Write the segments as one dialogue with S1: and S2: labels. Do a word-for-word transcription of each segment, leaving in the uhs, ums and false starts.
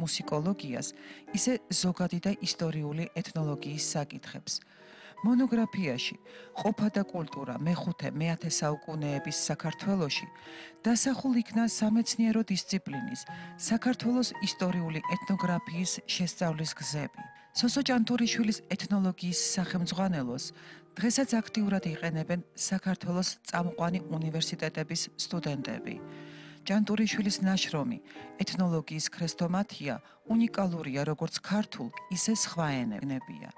S1: მუსიკოლოგიას, ისე ზოგადი და ისტორიული ეთნოლოგიის საკითხებს. მონოგრაფიაში ყოფა და კულტურა მეხუთე მეათე საუკუნეების საქართველოში დასახულ იქნა სამეცნიერო დისციპლინის საქართველოს ისტორიული ეთნოგრაფიის შესწავლის გზები. სოსო ჭანტურიშვილის ეთნოლოგიის სახელმძღვანელოს დღესაც აქტიურად იყენებენ საქართველოს წამყვანი უნივერსიტეტების სტუდენტები. ჭანტურიშვილის ნაშრომი ეთნოლოგიის ქრესტომათია უნიკალურია როგორც ქართულ, ისე სხვა ენებია.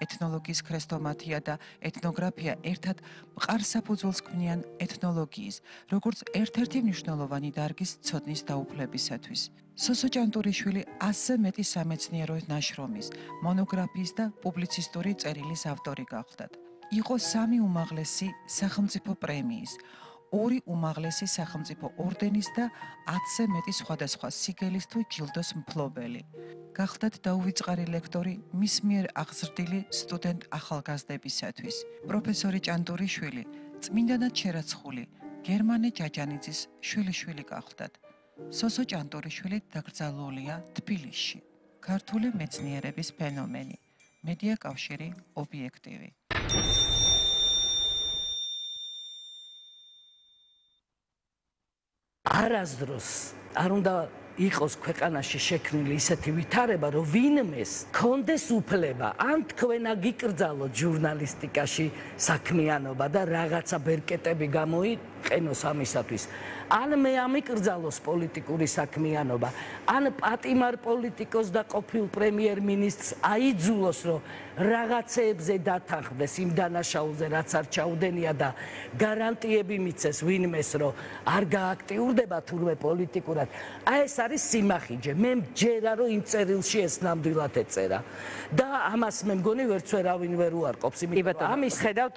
S1: ეთნოლოგიის ქრესტომათია და ეთნოგრაფია ერთად მყარ საფუძველს ქმნიან ეთნოლოგიის, როგორც ერთ-ერთი მნიშვნელოვანი დარგის ცოდნის დაუფლებისათვის. სოსო ჭანტურიშვილი ასზე მეტი სამეცნიერო ნაშრომის, მონოგრაფიის და პუბლიცისტური წერილის ავტორი გახლდათ. იყო სამი უმაღლესი სახელმწიფო პრემიის, ორი უმაღლესი სახელმწიფო ორდენის და ათზე მეტი სხვადასხვა სიგელის თუ ჯილდოს მფლობელი. გახლდათ დაუვიწყარი ლექტორი მის მიერ აღზრდილი სტუდენტ ახალგაზრდებისათვის. პროფესორი ჭანტურიშვილი წმინდანად შერაცხული გერმანე ჯაჯანიძის შვილიშვილი გახლდათ. სოსო ჭანტურიშვილი დაკრძალულია თბილისში. ქართული მეცნიერების ფენომენი. მედია კავშირი ობიექტივი.
S2: არასდროს არ უნდა იყოს ქვეყანაში შექმნილი ისეთი ვითარება, რომ ვინმეს კონდეს უფლება ან თქვენა გიკრძალოთ ჟურნალისტიკაში საქმიანობა და რაღაცა ბერკეტები გამოიყენოს ამისათვის. ან მე ამიკრძალოს პოლიტიკური საქმიანობა, ან პატიმარ პოლიტიკოს და ყოფილ პრემიერ-მინისტრს აიძულოს, რომ რაღაცეებზე დათანხმდეს იმ დანაშაულზე, რაც არ ჩაუდენია და გარანტიები მიცეს ვინმეს, რომ არ გააქტიურდება თურმე პოლიტიკურად. აი ეს არის სიმახიჯე. მე მჯერა, რომ იმ წერილში ეს ნამდვილად ეწერა. და ამას მე მგონი ვერც ვერავინ ვერ უარყოფს.
S3: ამის ხედავთ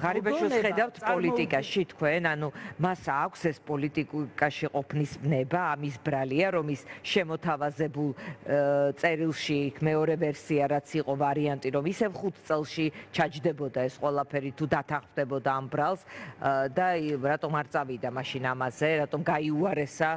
S3: ღარიბაშვილს ხედავთ პოლიტიკაში თქვენ, ანუ მას აქვს ეს პოლიტიკაში ყოფნის ნება, ამის ბრალია, რომ ის შემოთავაზებულ წერილში მეორე ვერსია რაც იყო ვარიანტი, რომ ისევ ხუთ წელში ჩაჯდებოდა ეს ყველაფერი თუ დათანხმდებოდა ამ ბრალს და რატომ არ წავიდა მაშინ ამაზე, რატომ გაიუარესა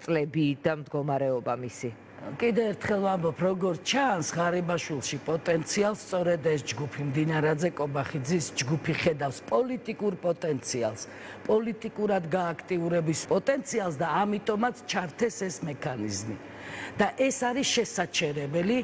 S3: წლები და მდგომარეობა მისი.
S2: კიდევ ერთხელ ვამბობ, როგორ ჩანს ღარიბაშვილში პოტენციალს, სწორედ ეს ჯგუფი მდინარაძე კობახიძის ჯგუფი ხედავს პოლიტიკურ პოტენციალს, პოლიტიკურად გააქტიურების პოტენციალს და ამიტომაც ჩართეს ეს მექანიზმი. და ეს არის შესაჩერებელი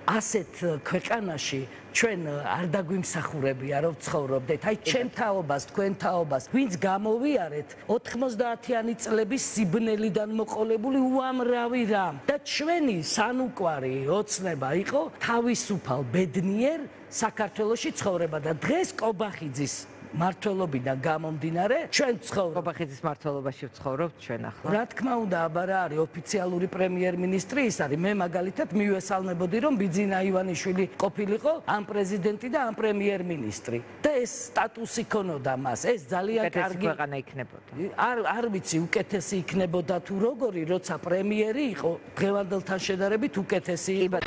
S2: ასეთ ქვეყანაში ჩვენ არ დაგვიმსახურებია რომ ცხოვრობდეთ. აი ჩემ თაობას, თქვენ თაობას, ვინც გამოვიარეთ ოთხმოცდაათიანი წლების სიბნელიდან მოყოლებული უამრავი რამ და ჩვენი სანუკვარი ოცნება იყო თავისუფალ ბედნიერ საქართველოში ცხოვრება და დღეს კობახიძის მართლობიდან გამომდინარე ჩვენ ვცხოვრობთ
S3: კობახიძის მართლობაში ვცხოვრობთ ჩვენ ახლა.
S2: რა თქმა უნდა, აბა რა არის ოფიციალური პრემიერ-მინისტრი ის არის. მე მაგალითად მივესალმებოდი რომ ბიძინა ივანიშვილი ყოფილიყო ამ პრეზიდენტი და ამ პრემიერ-მინისტრი და ეს სტატუსი ქონოდა მას. ეს ძალიან კარგი
S3: ქვეყანა იქნებოდა.
S2: არ არ ვიცი უკეთესი იქნებოდა თუ როგორი, როცა პრემიერი იყო დღევანდელთან შედარებით უკეთესი იყო.